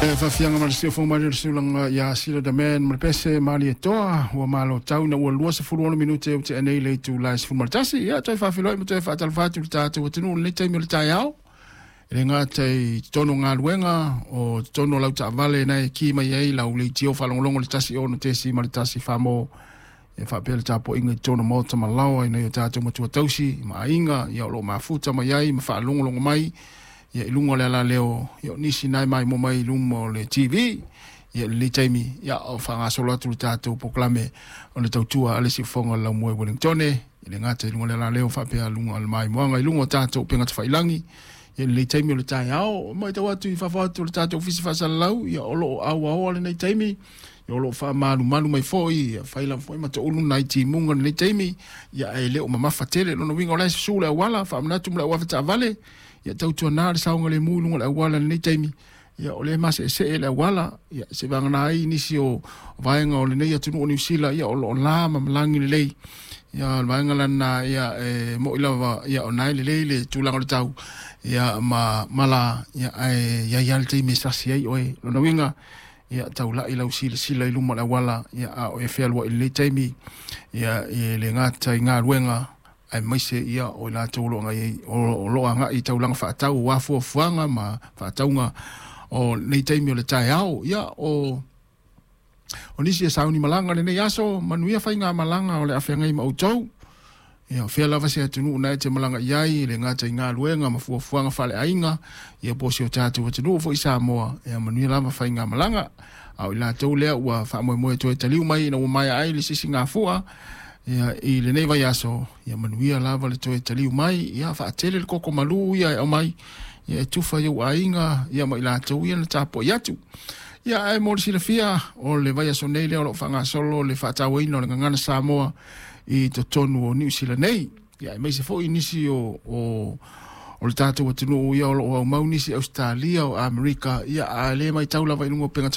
E faafiaga ma le siufofoga mai le sulaga ia Sila the Man ma le pese Malietoa ua malo tau ina ua 26 minute ua tea nei le itula e 11. Ia toe faafeiloai ma toe faatalofa atu i le tatou atunuu i lenei taimi o le taeao. E le gata i totonu o galuega, o totonu o lau taavale na e ki mai ai lau leitio faalogologo i le 106.1 mo e faapea le tapuaiga i totonu o maota ma laoa i nai o tatou matua tausi ma aiga ia o lo o mafuta mai ai ma faalogologo mai ia i luga o le alaleo ia o nisi na e maimoa mai i luma o le TV ia i lenei taimi ia o faagasolo atu le tatou polokalame o le tautua a le siufofoga o le laumua i Wellingtone e le gata i luga o le alaleo faapea luga o le maimoaga i luga o tatou upega tafailagi ia i lenei taimi o le taeao. Matau atu i fafo atu o le tatou ofisa faasalalau ia o lo o auaoa lenei taimi ia o lo o faamalumalu mai foi ia fai lava foi ma toulu nai timuga i lenei taimi ia ae le o mamafa tele. Lona uiga o la e susu le auala faamanatu ma le auave taavale ia tautuana le saogalemu i luga o le auala i lenei taimi ia o lea e maseesee le auala ia se vagana ai nisi o vaega o lenei atunuu o Niu Sila ia o lo o la ma malagi lelei ia o le vaega lana ia e moi lava ia o na e lelei le tulaga o le tau ia ma mala ia ae i ai lava le taimi e sasi ai oe. Lona uiga ia taulai lau silasila i luma o le auala ia a o e fealuai i lenei taimi ia e le gata i galuega aemaise ia o i latou o lo o agai i taulaga faatau aua fuafuaga ma faatauga o lenei taimi o le taeao. Ia o nisi e sauni malaga lenei aso, manuia faigamalaga o le a feagai ma outou. Ia o fea lava se atunuu na e te malaga i ai, e le gata i galuega ma fuafuaga faaleaiga, ia po o si o tatou atunuu foi Samoa, ia manuia lava faigamalaga. A o i latou lea ua faamoemoe toe taliu mai ina ua maea ai le sisigafua ia i lenei vaiaso, ia manuia lava le toe taliu mai, ia faatele le koko malu ia e aumai, ia e tufa i ou aiga ia ma i latou ia na tapuai atu. Ia ae mo le silafia, o le vaiaso nei lea o lo o faagasolo le faatauaina o le gagana Samoa i totonu o Niu Sila nei. Ia aemaise foi nisi o le tatou atunuu ia o lo o aumau nisi Ausetalia o Amerika, ia a le matau lava i luga o upega.